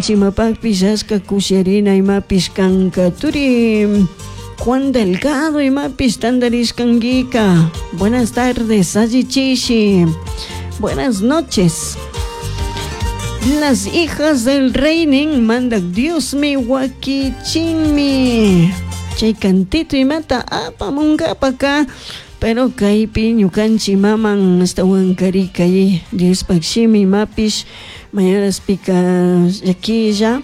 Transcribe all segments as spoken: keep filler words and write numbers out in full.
Chimapakpish ashka kusharina imapish kanka turi Juan Delgado imapish tantarishkankika. Buenas tardes, allichishi. Buenas noches. Las hijas del rey nin mandak Diosmi wakichinmi. Chay cantito imata apamunkapaka pero kaypi ñukanchik maman ashtawankari kay Diospak shimi imapish mayaraspika llaquilla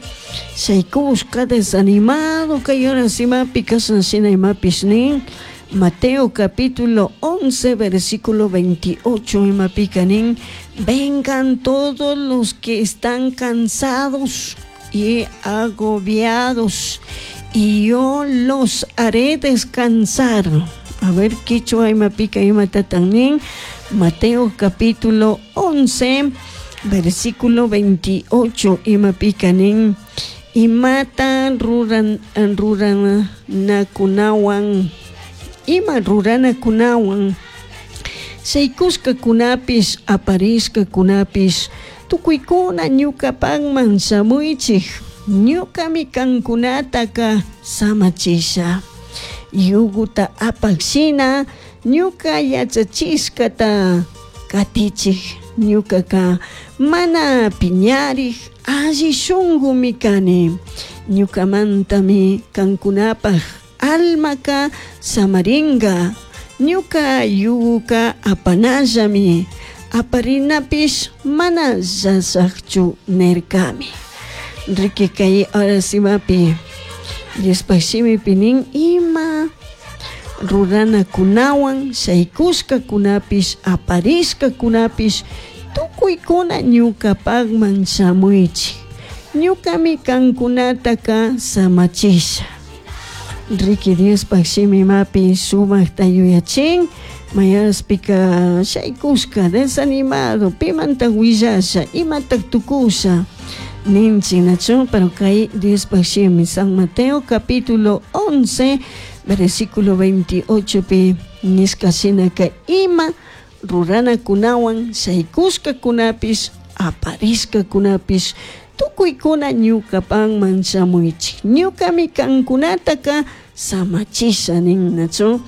shaykushka desanimado kay horas imapi kashna shina imapish nin Mateo capítulo once versículo veintiocho imapika nin vengan todos los que están cansados y agobiados y yo los haré descansar. A ver, quichua imapika imatatan nin Mateo capítulo once versículo veintiocho imapika nin imata ruran ruranakunawan ima ruranakunawan shaykushkakunapish aparishkakunapish tukuykuna ñukapakman shamuychik ñukami kankunataka samachisha yuguta apak shina ñuka yachachishkata katichik ñukaka mana piñarik alli shunkumi kani ñukamantami kankunapak almaka samarinka ñuka yuguka apanallami aparinapish mana llashakchu nirkami. Riki kay horas imapi Diospak shimipi nin ima ruranakunawan shaykushkakunapish aparishkakunapish tukuykuna ñukapakman shamuychik ñukami kankunataka samachisha. Riki Diospak shimi imapi sumakta yuyachin mayaraspika shaykushka desanimado pimanta willasha imatak tukusha ninchik nachu pero kay Diospak shimi San Mateo capítulo once versículo veintiocho pi nishka shinaka ima ruranakunawan shaykushkakunapish aparishkakunapish tukuykuna ñukapakman shamuychik ñukami kankunataka samachisha nin nachu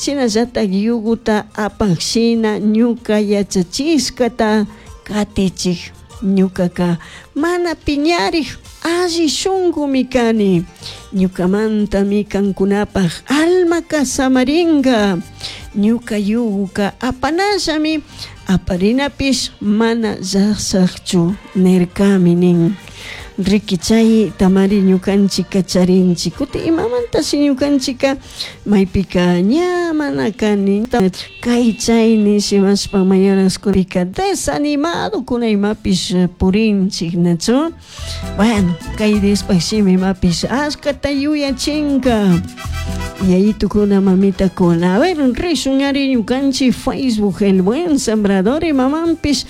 shinallatak yuguta apak shina ñuka yachachishkata katichik ñukaka mana piñarik alli shunkumi kani ñukamantami kankunapak almaka samarinka ñuka yuguka apanallami aparinapish mana llashakchu nirkami nin. Riki chay tamari ñukanchika charinchik kutin imamantashi ñukanchika maypika ña mana kani kay chay nishimashpa mayoraskunapika desanimado kuna imapish purinchik nachu bueno kay Diospak shimi imapish ashkata yuyachinka yayitukuna mamitakuna. A ver, rishun ari ñukanchik Facebook El Buen Sembrador imamanpish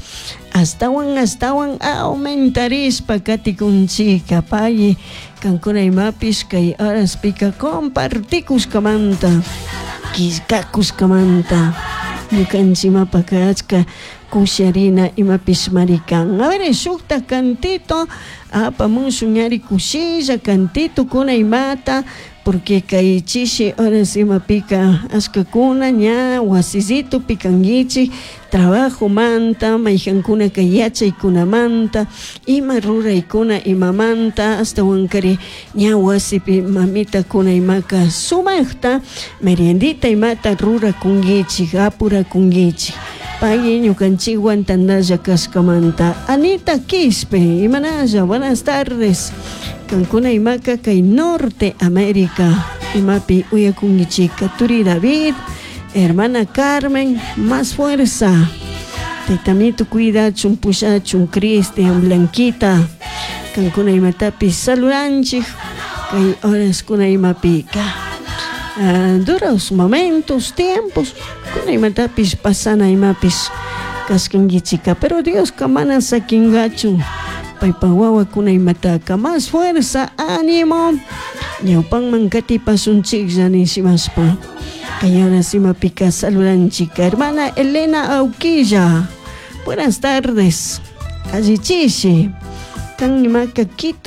astawan astawan aumentarishpa katikunchika pay kankuna imapish kay horaspika compartikushkamanta killkakushkamanta ñukanchik imapaka achka kusharina imapish marikan. A ver, shukta cantito apamushun ari kushilla cantito kuna imata porque kay chishi horas imapika ashkakuna ña wasisito pikankichik trabajomanta mayjankunaka yachaykunamanta ima ruraykuna imamanta ashtawankari ña wasipi mamitakuna imaka sumakta meriendita imata rurakunkichik apurakunkichik pay ñukanchikwan tantalla kashkamanta. Anita Quispe imanalla buenas tardes kankuna imaka kay Norte América imapi uyakunkichika turi David hermana Carmen más fuerza taytamito cuidachun pushachun Cristian Blanquita kankuna imatapi saludanchik kay horaskuna imapika uh, duros momentos tiempos kuna imatapis pasana imapis kashkankichika pero Dioska mana sakinkachu paypa wawakuna imataka más fuerza ánimo ñawpanman katipasunchiklla nishimashpa kay horas imapika saludanchika hermana Elena Auquilla buenas tardes allichishi Kan imaka Quito